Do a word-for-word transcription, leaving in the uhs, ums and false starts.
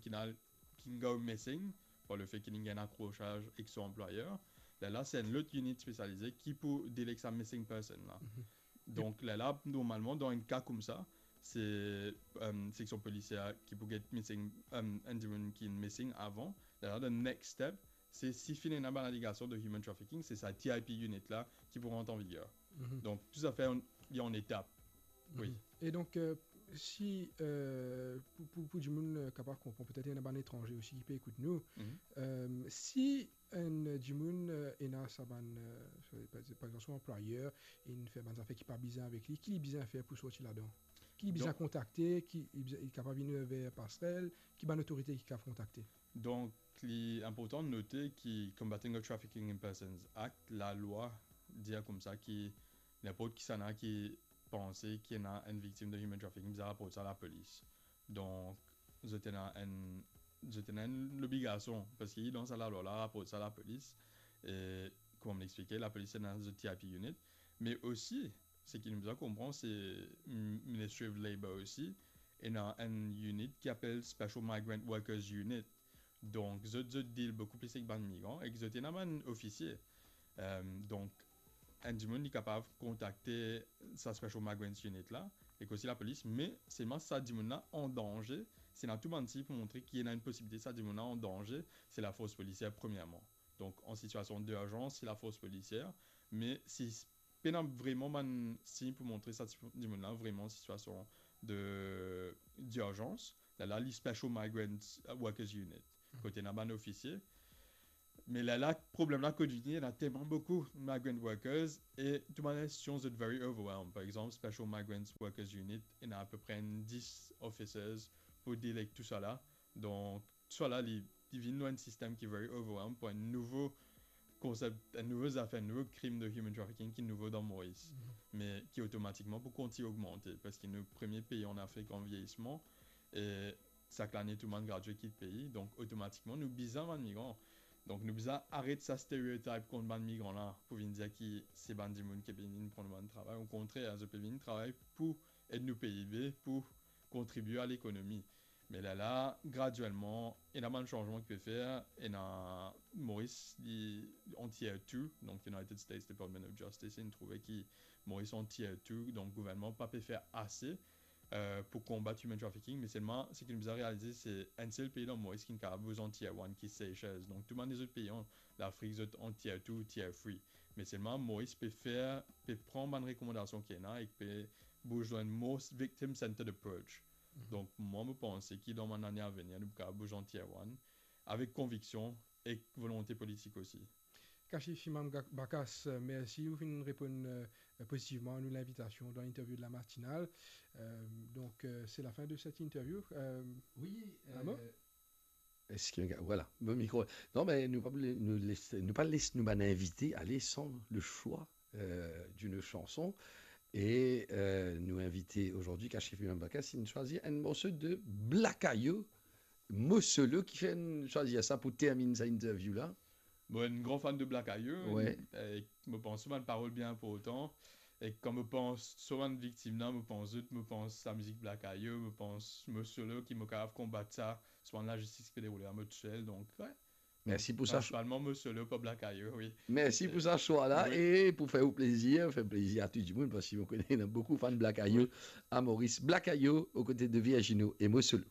ki ena, ki go missing, par lefet ki li gagn akrosaz ek so anplwayer, lerla se enn lot unit spesialize ki pou deal ek sa missing person la. Donk, lerla, normalman, dan enn ka koumsa, se, euh, seksion polisier ki pou get missing, euh, enn dimoun ki missing avan. Lerla, the next step, se si finn ena bann aligasion de human trafficking, se sa T I P unit la ki pou rant an viger. Donk, tou zafer, li an etap. Wi. E donk, euh, si, euh, pou, pou, pou dimoun, euh, kapav konpran, petet ena bann etranze osi ki pe ekout nou, euh, si enn dimoun, euh, ena sa bann, euh, par, par exanp, so anplwayer, inn fer bann zafer ki pa bizin avek li, ki li bizin fer pou sorti ladan? Ki li bizin kontakte? Ki li bizin, li kapav vinn ver Passerelle? Ki bann otorite ki kapav kontakte? Donk, li inportan note ki Combating of Trafficking in Persons Act, lalwa dir koumsa ki ninport kisannla ki panse ki ena enn viktim de human trafficking, bizin raport sa lapolis. Donk, zot ena enn, zot ena enn lobligasion, parski dan sa lalwa la, raport sa lapolis. E, kouma mo explike, lapolis ena zot T I P unit, me osi, seki nou bizin konpran, se, mm, Ministry of Labour osi ena enn unit ki apel Special Migrant Workers Unit. Donk, zot, zot deal boukou plis ek bann migran, ek zot ena bann ofisie. Euh, donk, enn dimoun, li kapav kontakte sa Special Migrants Unit la, ek osi lapolis, me selman sa dimoun la an danze, si ena tou bann sign pou montre ki ena enn posibilite sa dimoun la an danze, se lafors polisier premierman. Donk, an sitiasion dirzans, se lafors polisier, me si pena vreman bann sign pou montre sa ti, dimoun la vreman an sitiasion de, dirzans, lerla li Special Migrant Workers Unit, kot ena bann ofisie. Me lerla, problem la kot vini, ena telman boukou migrant workers e tou bann institision zot very overwhelmed. Par exanp, Special Migrant Workers Unit, ena apepre enn dis officers pou deal ek tou sa la. Donk, sa la, li, li vinn nou enn sistem ki very overwhelmed pou enn nouvo konsep, enn nouvo zafer, enn nouvo krim de human trafficking ki nouvo dan Moris, me ki otomatikman pou kontign ogmante, parski nou premie pei an Afrik an vieyisman, e sak lane tou bann gradye kit pei, donk otomatikman nou bizin bann migran. Donk nou bizin aret sa stereotype kont bann migran la, pou vinn dir ki se bann dimoun ki pe vinn pran bann travay. Okontrer, zot pe vinn travay pou ed nou P I B, pou kontribie a lekonomi. Me lerla, graduelman, ena bann sanzman ki pe fer, ena Moris, li an tier two, donk United States Department of Justice, inn trouve ki Moris an tier two, donk gouvernman pa pe fer ase, euh, pou konbat human trafficking, me selman, seki nou bizin realize, se enn sel pei dan Moris ki kapav bouz an tier one, ki Seychelles. Donk, tou bann lezot pei an Lafrik, zot an tier two, tier three. Me selman, Moris pe fer, pe pran bann rekomandasion ki ena ek pe bouz lor enn more victim-centered approach. Donk, mwa, mo panse ki dan bann lane avenir, nou kapav bouz an tier one, avek konviksion ek volonte politik osi. Kashif Imam Ga-, Bakas, euh, mersi, ou finn reponn, euh, pozitivman a nou linvitasion dan linterview de la matinale. Euh, donk, euh, se lafin de set interview. Euh, Wi, Ramo? Euh, eski, vwala, mo mikro. Non, me nou pa, nou les, nou pa les nou bann invite ale san le swa, euh, d'une chanson. E, euh, nou invite azordi, Kashif Imam Bakas, inn swazir enn morso de Blakayo, Mo Solo, ki fer swazir sa pou terminn sa interview la. Mo enn gran fan de Blakayo, e mo pans so bann parol bien inportan. E kan mo pans so bann viktim la, mo pans zot, mo pans lamizik Blakayo, mo pans Mo Solo ki mo kapav konbat sa, so bann lazistis ki pe deroule a mo tousel. Donk, wi. Mersi pou sa. Prinsipalman Mo Solo, pa Blakayo, wi. Mersi pou sa swa la, e pou fer ou plezir, fer plezir a tou dimoun, parski mo kone ena boukou fan Blakayo a Moris. Blakayo, okote de Virgino e Mo Solo.